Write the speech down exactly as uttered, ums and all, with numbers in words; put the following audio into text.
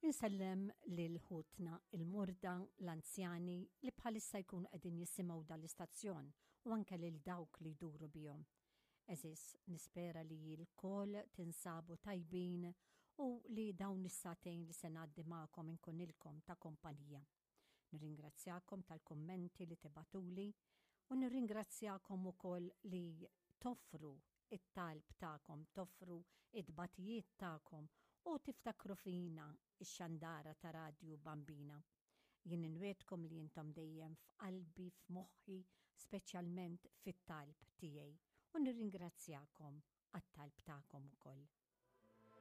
Insellem lil ħutna il-morda, l-anzjani li bħalissa jkunu qegħdin jisimgħu dal-istazzjon u anke lil dawk li jduru bihom. Għeżież, nispera li lkoll tinsabu tajbin u li dawn is-sagħtejn li se ngħaddi magħkom inkunilkom ta' kompanija. Nirringrazzjakom tal-kommenti li tibagħtuli u nirringrazzjakom ukoll li toffru it-talb tagħkom, toffru it-tbatijiet tagħkom u tiftakru fina, ix-xandara ta' Radju Bambina. Jien inwegħedkom li intom dejjem f'qalbi, f'moħħi, speċjalment fit-talb tiegħi. U nirringrazzjakom għat-talb tagħkom ukoll.